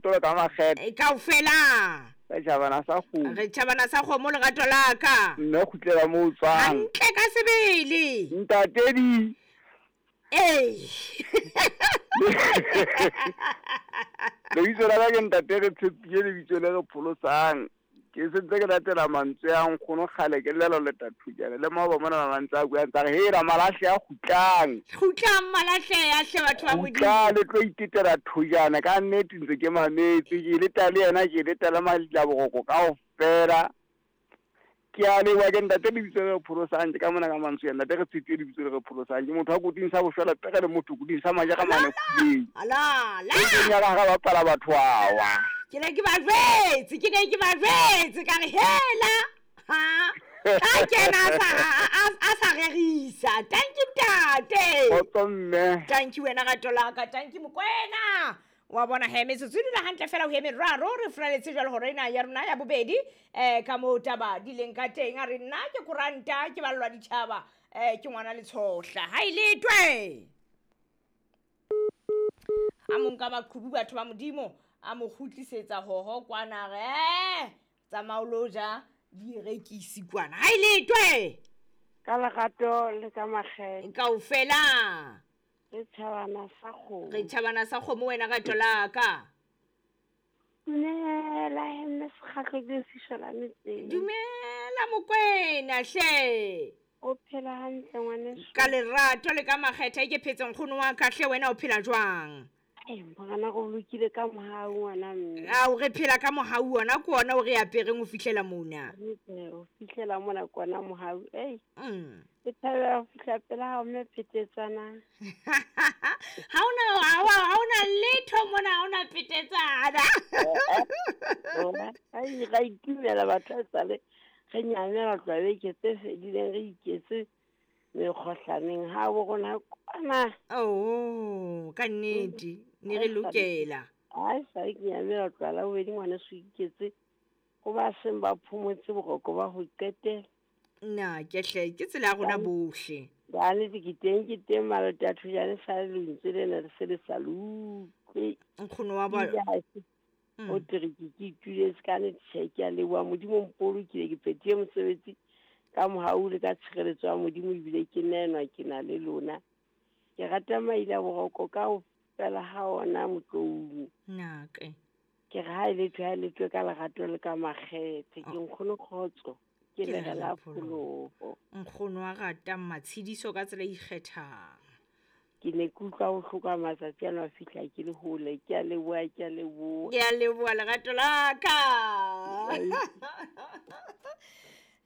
Tolo ka makgethe. Kaofela. Re tjhabana sa kgomo. Re tjhabana sa kgomo lerato la ka. Mme kgutlela mo o tswang. Hantle ka sebele. Ntate di. Ee. Lebitso la ka ke ntate re tshepile lebitso le re pholosang. Ke sentse ke latela mantswe a nkgono kgale ke llela leta thujana le maoba mona mantse a bua ntse re hela malahle a kgutlang. Kgutlang malahle a hle batho ba Modimo. Kgutla le tlo itetela thujana ka nnete ntse ke mametse ke leta le yena ke leta le malila boroko kaofela. Ke a leboha ke ntate lebitso le re pholosang ke ka mona ka mantswe ya ntate re tshepile lebitso le re pholosang ke motho wa koting sa boshwela pere le motho koting sa maja ka mane phuleng. Ala la. E keng ya ka ga bapala batho awa. Ke ne ke ba jwetse, ke ne ke ba jwetse ka re hela. Ha. A kena a sa rerisa. Thank you ntate. Kgotso mme. Thank you wena rato la ka. Thank you Mokoena. Wa bona he metsotso e dula hantle fela ho eme raro re furaletse jwalo hore ena ya rona ya bobedi ka moo taba di leng ka teng. A re nna ke koranta ke ballwa ditjhaba ke ngwana letshohla ha e letwe. A mo nka maqhubu batho ba Modimo a mo kgutlisetsa hoho kwana re tsamao lo ja direkisi kwana ha e letwe. Ka lerato le ka makgethe. Kaofela. Re tjhabana sa kgomo. Re tjhabana sa kgomo wena rato la ka. Dumela mme sekgahlo ke sishola metseng. Dumela Mokoena hle. O phela hantle ngwaneso. Ka lerato le ka makgethe ke phetse nkgono wa ka hle wena o phela jwang? Ai morena go lokile ka mohau ngwana mme. Ao re phela ka mohau ona ke ona o re apereng ho fihlela mona. Ho fihlela mona ke ona mohau. Ei. Ke thabela ho fihla pela hao mme phetetsana. Ha ona letho mona, ha ona phetetsana. Ai ra itumela batho tsale. Re nyamela tloha beke tse fedileng re iketse mekgohlaneng ha bo rona kwana. Oh, ka nnete ne re lokela. Ai sa ke nyamela tloha la bobedi ngwaneso iketse ho ba seng ba phomotse boroko ba ho qetela. Nna ke hle ke tsela ya rona bohle. Ba nnete ke teng malota a thujane sa lentswe lena le se le sa le utlwe. Nkgono wa ba o tere ke ituletse ka nnete tjhe ke a leboha Modimo mpolokile ke phethile mosebetsi ka mohau le ka tshireletso ya Modimo ebile ke nenwa ke na le lona. Ke rata maila boroko kaofela ha ona motloung. Nake. Ke re ha e lethwe ka lerato le ka makgethe ke nkgono kgotso. Ke lere la pholoho. Nkgono wa rata matshediso ka tsela e ikgethang. Ke ne ke utlwa ho hloka matsatsi ano a fihla ke le hole. Ke a leboha, ke a leboha. Ke a leboha lerato la ka.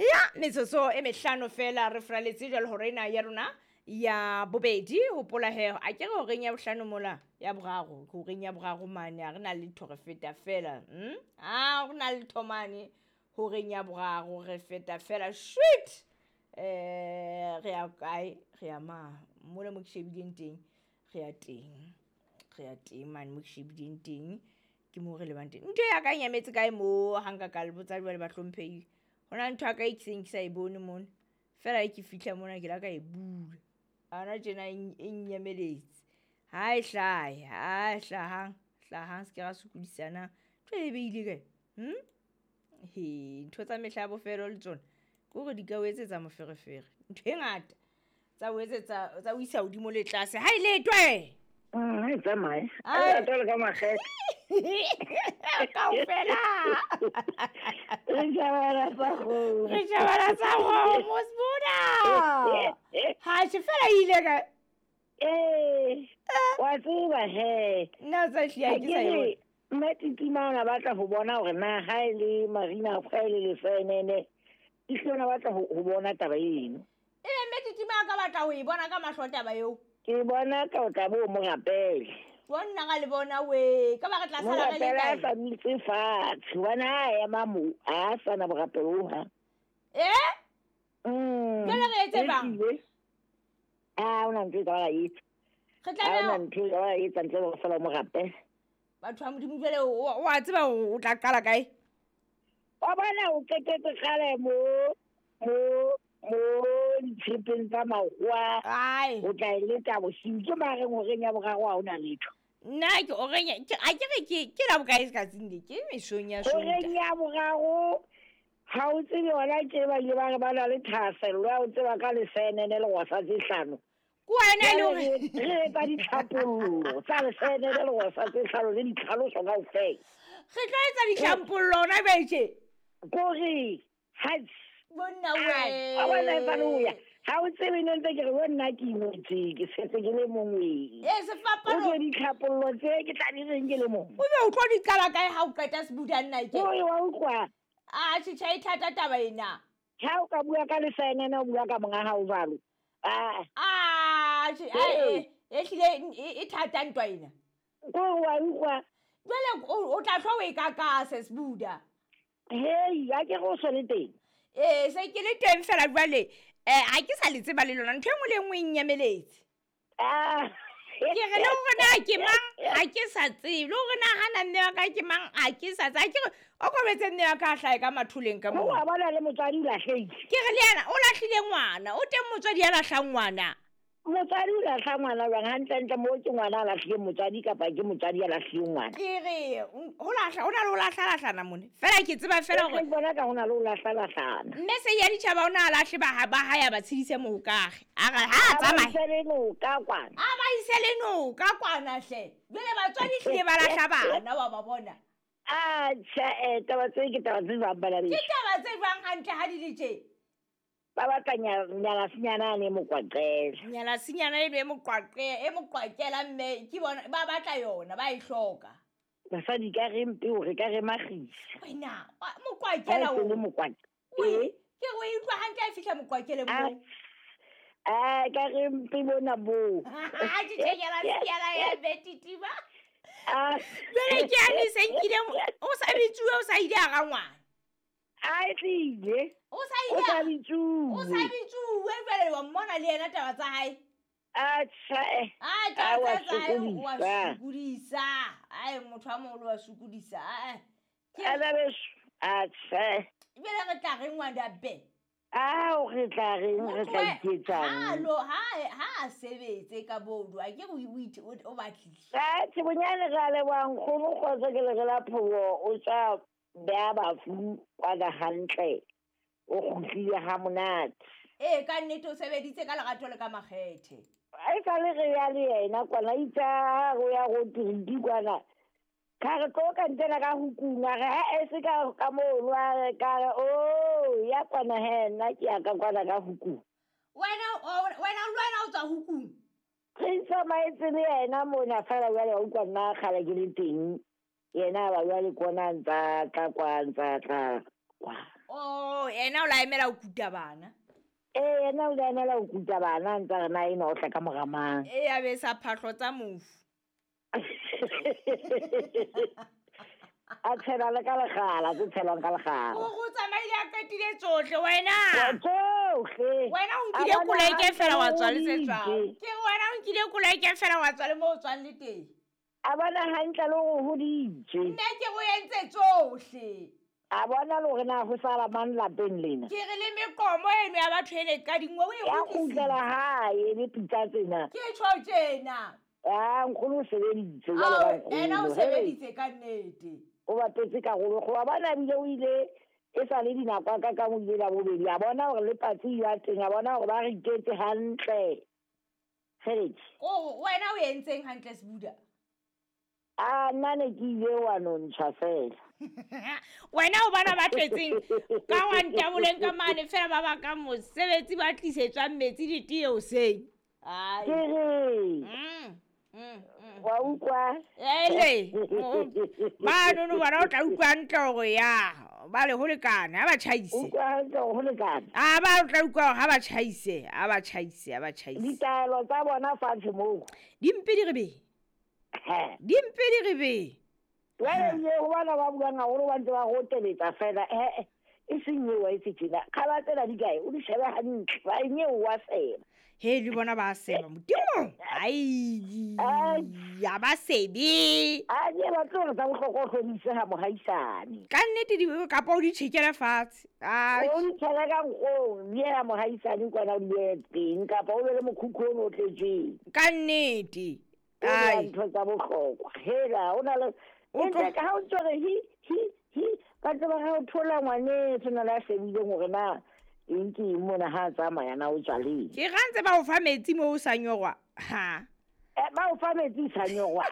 Ya metsotso e mehlano fela re furaletse jwalo hore ena ya rona ya bobedi. Hopola he a ke re horeng ya bohlano mola ya boraro horeng ya boraro mane ha re na letho re feta fela. A re na letho mane horeng ya boraro re feta fela shit. Re ya kae re ya ma mola mo ke shebileng teng re ya teng mane mo ke shebileng teng ke mo re lebang teng. Ntho ya ka e nyametse kae mo ha nka ka le botsa jwale ba hlomphehile. Hona ntho ya ka e ke seng ke sa e bone mona fela e ke fihla mona ke la ka e bula ana tjena e nyameletse. Ha e hlahe ha e hlahang hlahang se ke ra sokodisana ntho e beile kae. He ntho tsa mehla ya bofelo le tsona ke hore di ka o etsetsa moferefere ntho e ngata tsa o etsetsa tsa o isa hodimo le tlase. Ha e letwe. Ha e tsamaye. A tole ka makgethe. Kaofela. Re tjhabana sa kgomo. Re tjhabana sa kgomo Sbuda. Ha se fela ile ka. Wa tseba he. Nna tsa hlile ke sa e bone. Mme Titima ona batla ho bona hore na ha e le Marina ha e le lefenene. Ehlile ona batla ho bona taba eno. Ebe mme Titima a ka batla ho e bona ka mahlo taba eo. Ke bona ka o tla bo mo rapele. Bona ga le bona we ka ba re tla sala re le kae. Sa mitse fatshe hobane ha ema mo a sana borapelo ha. Jwale re etse bang? A ona ntho e ka ba etsa. Re tla ona ntho e ka ba etsa ntle le go sala mo rapele. Batho ba Modimo jwale o a tseba o tla qala kae? Wa bona o qetetse kgale mo ditshepeng tsa makgowa. O tla e leta bosiu ke mareng horeng ya boraro ha hona letho. Nna ke oreng a ke re ke la bokae tsatsing le ke mesong ya Horeng Sontaha. ya boraro ha o tsebe hona tje ba ile ba re ba na le thahasello ya ho tseba ka lesenene le gosa tse hlano. Ke wena e le Jwale hore re etsa ditlhapollo tsa lesenene le gosa tse hlano le ditlhaloso kaofela. Re tlo etsa ditlhampollo hona jwale tje. Kore ha Monna wa bona e sale ho ya. we. Ha o tsebe ne ntse ke re bo nna ke ingwetse ke setse ke le mong we. Ee O sefapano. tlo ditlhapollo tse ke tla di reng ke le mong. O be o tlo di qala kae ha o qeta sebuda nna ke? Kore wa utlwa. A tjhe e thata taba ena. Ha o ka bua ka lesenene o bua ka monga hao jwalo. Ah, A tjhe Ee. e hlile e thata ntwa ena. kore wa utlwa. Jwale o tla hlwa o e kakase sebuda. Hei, ha ke re o so le teng. Ee, se ke le teng fela jwale ha ke sa le tseba le lona ntho e nngwe le e nngwe e nnyameletse. Ah. Ke re le hore na ke mang ha ke sa tsebe, le hore na hana mme wa ka ke mang ha ke sa tsebe. Ha ke re o kobetse mme wa ka a hlahe ka matholeng ka Ho moo. wa bona le motswadi o lahlehile. Ke re le yena o lahlile ngwana, o teng motswadi ya lahlang ngwana. Motswadi o lahla ngwana jwang hantlentle moo ke ngwana a lahlileng motswadi kapa ke motswadi a lahlileng ngwana. Ke re ho lahla ho na le ho lahlalahlana mone. Fela ke tseba fela hore Ke bona ka ho na le ho lahlalahlana. mme se ya ditjhaba o na a lahle ba hae a ba tshedise mohokage. A re ha a A ba tsamaye. ise le noka kwana. A ba ise le noka kwana hle. Jwale batswadi hlile ba lahla bana wa ba bona. Ah, tjhe, taba tse ke taba tse jwang bana Ke beso. taba tse jwang hantle ha di le tje? Ba batla nyalasinyana ane e mokwaqela. Nyalasinyana eno e moqwaqe e moqwakela mme ke bona ba batla yona ba e hloka. Basadi ka re mpe hore ka re makgisa. Wena Ha moqwakela e se le o. mokwaqela. Ke re o e utlwa hantle ha e fihla moqwakeleng Ah, moo. ah, ka re mpe bona boo. Ha tjhe nyalasinyana ya betitima. Ah. Jwale ke yane se nkile o sa bitsuwe o sa ile hara ngwana. A e tlile. O sa O ile sa o sa bitsuwe. bitsuwe jwale wa mmona le yena taba tsa hae. Ah, tjhe. Ah, Ah, taba wa tsa hae wa sokodisa. sokodisa. Ai motho a moholo wa sokodisa. Ah. Ke Ana beso. Ah, tjhe. jwale re tla reng ngwana be. Ao re tla reng re tla iketsang. Ha a sebetse ka bodu a ke re o batlile. Ah, tjhe bonyane re a leboha nkgono kgotso ke le re la phobo o tswa beha bafu kwana hantle. O kgutlile ha monate. Ee ka nnete o sebeditse ka lerato le ka makgethe. E sale re ya le yena kwana itse ha re ya go tiriki kwana. Ka re tlo ka ntsena ka hukung a re ha e se ka mono a re ka re oh ya kwana he nna ke ya ka kwana ka hukung. Wena wena le wena o tswa hukung. Re tsamaetse le yena mona fela jwale wa utlwa nna kgale ke le teng. Yena ba jwale kona a ntsa tla kwa ntsa tla kwa. Oh, yena o la emela ho kuta bana. Ee, yena o la emela ho kuta bana a ntsa re na enwa o tla ka mora mang. E ya be sa phahlo tsa mofu. A tshela le ka lekgala, tse tshelwang ka lekgala. O tsamaile a qetile tsohle wena. Tsohle. Wena o nkile A bona koloi ke fela wa tswa le hantle se tswang. hoditse. Ke wena o nkile koloi ke fela wa tswa le mo o tswang le teng. A bona hantle le hore o hoditse. Nna ke go entse tsohle. A bona le hore na ho sala mang lapeng lena. Ke re le meqomo eno ya batho e le kadingwe o e Ya kgutlisitse. kgutlela hae le pitsa tsena. Ke tjho tjena. Ah, nkgono o sebeditse jwalo ka Ao, ena o nkgono. sebeditse ka nnete. O bapetse karolo e kgolo. Wa bona ebile o ile e sa le dinako a ka ka o ile la bobedi. A bona hore le patsi ya teng, a bona hore ba re iketse hantle. Kgeleke. Ko wena o entseng hantle Sebuda? Ah, nna ne ke ile wa nontshwa fela. Wena o bona ba tletseng ka wa ntaboleng ka mane fela ba baka mosebetsi ba tlisetswang metsi le tee hoseng. Ai. Ke re, wa utlwa? Ele, banono bona o tla utlwa hantle hore ya ba le ho lekane ha ba tjhaise. Utlwa hantle hore ho lekane. A ba o tla utlwa hore ha ba tjhaise, ha ba tjhaise, ha ba tjhaise. Ditaelo tsa bona fatshe moo. Dimpe di re be. He. Dimpe di re be. Jwale ebile ho bana ba buang haholo ba ntse ba roteletsa fela. He, e seng eo wa e se tjena. Kgaba tsena di kae? O di shebe hantle. Ba eng eo wa seba. He le bona ba seba Modimo. Ai, ya ba sebe. A di batle hore tsa bohlokwa o hlodise ha mohaisane. Ka nnete di kapa o di tjhekele fatshe. Ai. O di tshele ka nkgong, di ye ha mohaisane kwana o di behe teng kapa o be le mokhukhu ono o tletseng. Ka nnete. O bua Ai. ntho tsa bohlokwa. Hela, o na le O tlo- Ntse ka ha o ntso re hi hi hi ka tseba ha o thola ngwaneso na le a shebileng hore na eng ke eng mona ha a tsamaya na o tswa leng. Ke ga ntse ba o fa metsi mo o sa nyorwa. Ha. Ba o fa metsi sa nyorwa.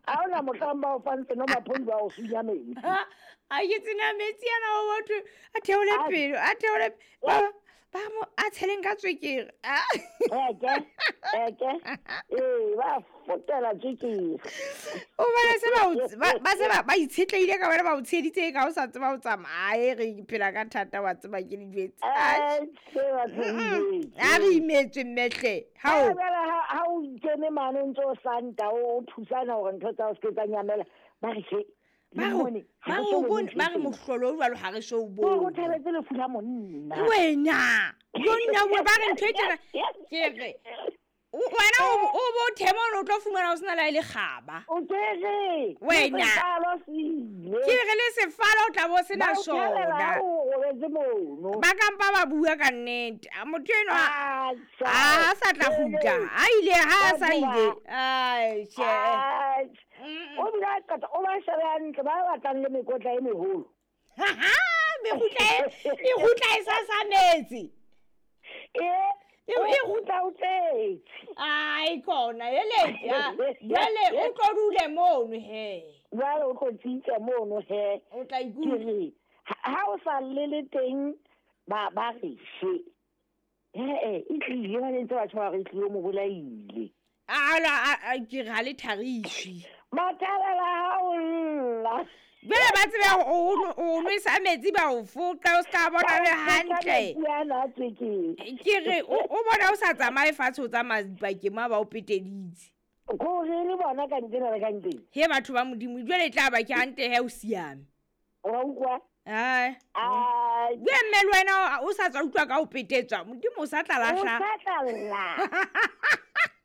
Ha hona mohlang ba o fang seno maphodi ba o sunya metsi. Ha, a ke tsena metsi ana o batho a theole A- pelo, a theole ba ba mo a tsheleng ka tswekere. Ah. Eke, eke. Ee, ba fotela tswekere. O bona se ba o tse- ba ba se ba ba itshetlehile ka wena ba o tsheditse ka o sa tseba o tsamaye re phela ka thata wa tseba ke le jwetse. Atjhe. Se batho Mm-mm. A re imetswe mmehle. Hao Hao. ha o kene mane o ntse o santa o thusana hore ntho tsa hao se ke tsa nyamela ba re he Ba le re mone, ha ba re re so o bone bone ntho ba re e tjena. mohlolo o jwalo ha re so o Ba re o bone. thabetse lefu la monna. Wena. Yo nna bua ba re ntho e tjena ke re wena o bo thema o tlo fumana o sena le ha e le kgaba. O ke re Wena. le sefalo se ile. Ke re le sefalo o tla bo sena Ba o thabela sona. ha o robetse mono. Ba kampa ba bua ka nnete. A motho enwa Atjha. a sa tla kgutla. A ile ha a sa Batho ile. ba- Ai tjhe. Atjha. Mm. O bile a qeta o ba shebe hantle ba batlang le mekotla e meholo. Ha ha, mekgutla e mekgutla e sa sa metsi. Ee, E- o e- kgutla o tletse. Ai kona eletse. Jwale o tlo dule mono he. Jwale o tlo tsitsa mono he. O tla Ke ikutlwa. re ha o sa llele teng ba ba re she. Ee, e tlile ba ntse batho ba re e tlile o mo bolaile. Ala ke re ha le thariswi. Mathabela ha o lla. Jwale ba tsebe o nwesa metsi ba o foqa o ska bona le hantle. Metsi ana a tswekere. Ke re o bona o sa tsamaye fatshe o tsamaya dipakeng mo ba o peteditse. Kore le bona ka ntsena le ka ntsena. He batho ba Modimo jwale e tla ba ke hantle he o siame. Wa utlwa? Ai. Ai. Bue mme le wena o sa tswa utlwa ka ho petetswa. Modimo o sa tla O lahla. sa tla lla.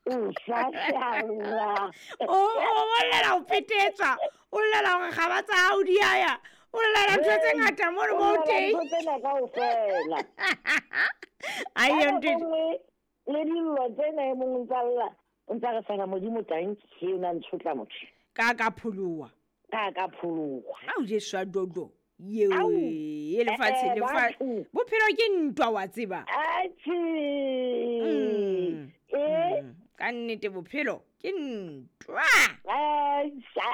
O sa tla lla. O llela ho petetswa. O llela hore kgaba tsa hao di a ya. O llela ntho tse ngata mono O mo llela teng. ntho tsena kaofela. Ai Ka yo nako ntho. nngwe le dillo tsena e mong o ntsa lla o ntsa re fela modimo tanki he o na ntshotla motho Ka pholoha. ka pholoha. Ao Jesu a dodo. Yeo Au. e lefatshe Eh, lefatshe. batho. Bophelo ke ntwa wa tseba. Atjhe. Mm. Eh. Ka nnete bophelo ke ntwa. Atjha.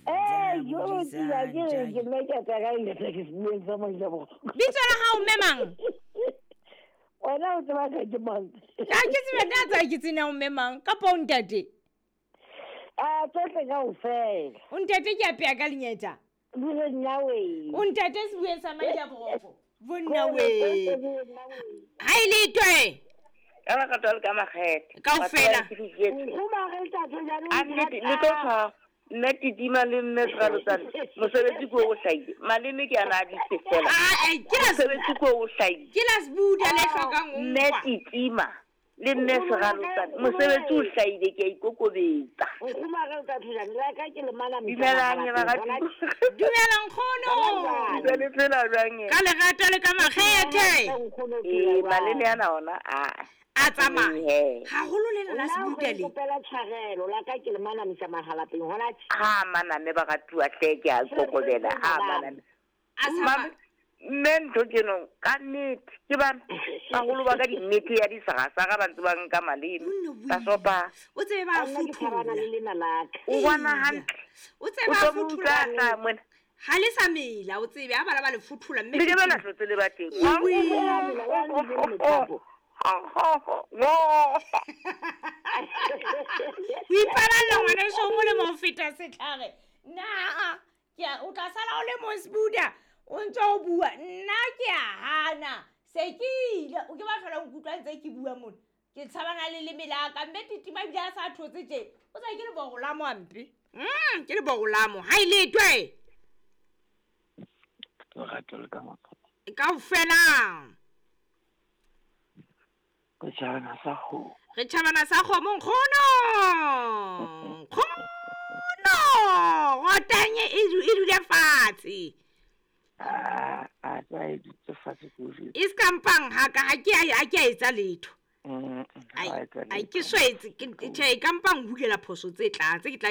Eh, yo tsila ke re ke nna ke a tsaka ile ke se bueng sa Maila Boroko. Bitso la hao mme mang? Wena o tseba ka ke mang? Ha ke tsebe nna tsa ke tsena o mme mang kapa o ntate. Ah, tsohle kaofela. O ntate ke apeya ka lenyeta. Di re nna wee. O ntate se bueng sa Maila Boroko. Bonna Kore we. tsohle di re nna wee. Ha e le twe. Ka lerato le ka makgethe. Kaofela. Batho ba ke di jwetse. Nkgomare ntate jane o A nnete, le tlo tshwara. Nna Titima le mme Seralotsane, mosebetsi ke o hlahile. Maleme ke ana a ditse fela. Ah, eh, ke la Mosebetsi ke o hlahile. ke la sebuda le hlokang ho Mme nkwa. Titima le mme Seralotsane, mosebetsi o hlahile ke a ikokobetsa. Nkgomare ntate jane la ka ke le manamisa Dumelang mahalapeng, baratuwa. hona Dumela nkgono. Ntse le phela jwang e? Ka lerato le ka makgethe. tje, nkgono o phela Ee, jwang? maleme ana ona a A tsamaya. Ee. Haholo lena la Nna o sebuda re le. nkopela tshwarelo la ka ke le manamisa mahalapeng hona tje. Ha maname baratuwa hle ke a kokobela ha maname. A Mame, tsamaya. mme ntho ke no ka nnete ke bana baholo ba ka dinnete ya disarasara ba ntse ba nka maleme Monna wee. ba sopa O tsebe ba a Nna ke tshabana le fothola. lena la ka. o bona Eya. hantle O tsebe o ba a tlo mo utlwa fothola. tla mona Ha le sa mela o tsebe ha bana ba le fothola mme. le ke bana hlotse le ba teng Ewe. Mela wa le le methapo. Ho ipaballa ngwaneso o molemo ho feta setlhare. Nna ke a o tla sala o le mong sebuda o ntse o bua nna ke a hana se ke ile o ke ba tlhola o nkutlwa ntse ke bua mona ke tshabana le leme la ka mme Titima ebile a sa thotse tje o sa ke leborolamo hampe ke leborolamo ha e letwe Lerato le ka makgethe. kaofela Re tjhabana sa kgomo. re tjhabana sa kgomo nkgono nkgono rotanye e e dule fatshe Ah, a tsa e dutse fatshe ke o jwetse. e se ka mpang haka ha ke a ha ke a etsa letho Ai, ke swetse tjhe, e ka mpa nhulela phoso tse tlang tse ke tla.